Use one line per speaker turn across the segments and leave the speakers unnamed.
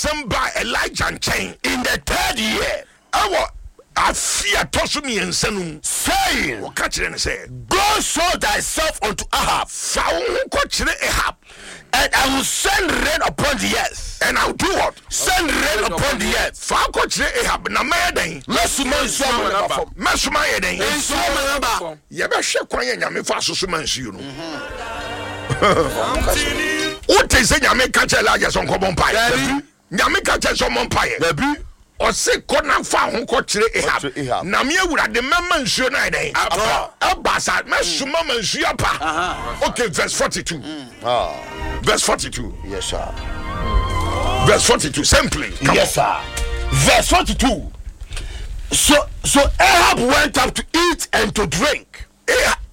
Asɛm baa Elijah nkyɛn
in the third year,
ɛwɔ afe a ɛtɔ so 3 no mu,
saying,
wɔka kyerɛ no sɛ,
"Go show thyself unto Ahab,
fa wo ho kɔkyerɛ Ahab,
and I will send rain upon the earth."
And I will do what?
Send rain upon the earth.
Fa wo kɔkyerɛ Ahab na mɛyɛ dɛn?
Mɛsoma nsuo ama no aba fam.
Mɛsoma yɛ dɛn?
Nsuo ama no aba.
Yɛbɛhwɛ kwan yɛ Nyame fa so soma nsuo no. Wote sɛ Nyame ka kyerɛ Elijah sɛ ɔnkɔbɔ mpaeɛ?
Dabi.
Nyame ka kyerɛ sɛ ɔmmɔ mpaeɛ?
Dabi.
Ɔse kɔ na fa ho kɔkyerɛ
Kɔkyerɛ
Ahab,
Ahab.
na me Awurade mɛma nsuo no ayɛ dɛn?
Atɔ.
Ɛba sa, mɛsoma ma nsuo apa. Okay, verse 42.
Ah,
Verse 42.
Yes, sir.
Verse 42 simply. Come
Yes,
on.
sir. Verse 42. So Ahab went up to eat and to drink.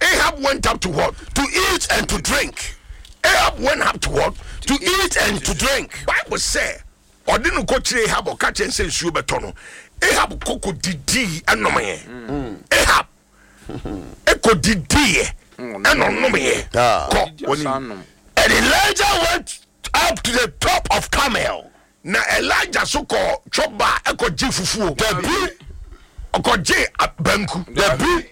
Ahab went up to what?
To eat and to drink.
Ahab went up to what?
To eat and to drink.
Bible sɛ ɔde no kɔkyerɛ Ahab, ɔka kyerɛ sɛ nsuo bɛtɔ no, Ahab kɔkɔ didii ɛnomyɛ. Ahab ɛkɔ didiiɛ ɛna ɔnomyɛ.
Ah.
Kɔ
Didi
wɔnim.
asan nom.
And Elijah went up to the top of Carmel.
Na Elijah so kɔ twɔba ɛkɔgye fufuo?
Dabi.
Ɔkɔgye banku?
Dabi.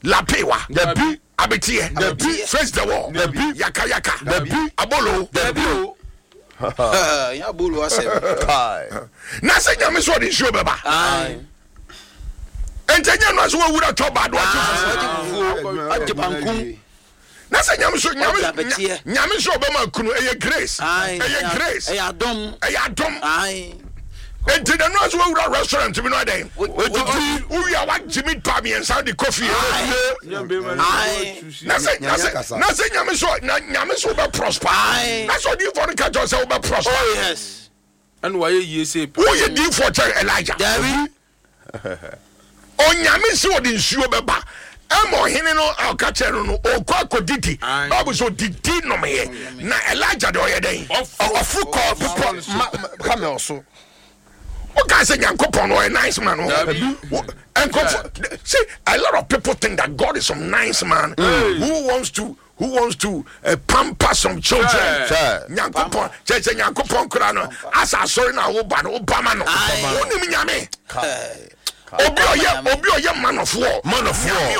Lapewa?
Dabi.
Abeteɛ?
Dabi.
Face the wall?
Dabi.
Yaka yaka?
Dabi.
Abolo?
Dabi o.
Ya bolo asɛm.
Kai.
Na sɛ Nyame sɛ ɔde nsuo bɛba, ɛnti ɛnyɛ no a sɛ wɔwura twɔba de wagye fufuo.
Agye fufuo, agye banku.
Na sɛ Nyame so Nyame
Ɔde abɛteɛ.
Nyame so ɔbɛma kunu, ɛyɛ grace.
Aye.
Ɛyɛ grace.
Ɛyɛ adom.
Ɛyɛ adom.
Aye.
Enti na no a sɛ wɔwura restaurant bi no adɛn?
Wodidi.
Wowie a, wagye meat pie 3 de kɔ fie.
Aye.
Na sɛ na sɛ Nyame so na Nyame so wobɛ prosper,
Aye.
na sɛ odiyifoɔ no ka kyerɛ wo sɛ wobɛ prosper.
Oh yes.
Ɛna wayɛ yie sɛ pɛ.
Woyɛ diyifoɔ kyɛn Elijah?
Dabi.
Onyame sɛ ɔde nsuo bɛba ɛma ɔhene no a ɔka kyerɛ no ɔkɔ akɔdidi.
Aye.
Bible sɛ ɔdidi nomyɛ, na Elijah deɛ, ɔyɛ dɛn?
Ɔforo kɔ bepɔ Carmel so.
Woka sɛ Nyankopɔn no ɔyɛ nice man o.
Dabi.
Nkurɔfo see, a lot of people think that God is some nice man who wants to pamper some children.
Sir.
Nyankopɔn kyerɛ sɛ Nyankopɔn kora no asa asɔre no a woba no wobama no.
Aye.
Wonim Nyame?
Kai.
Obi ɔyɛ man of war.
Man of war.
Nyame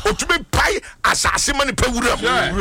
otumi pae asase ma nipa wura mu.
Sure.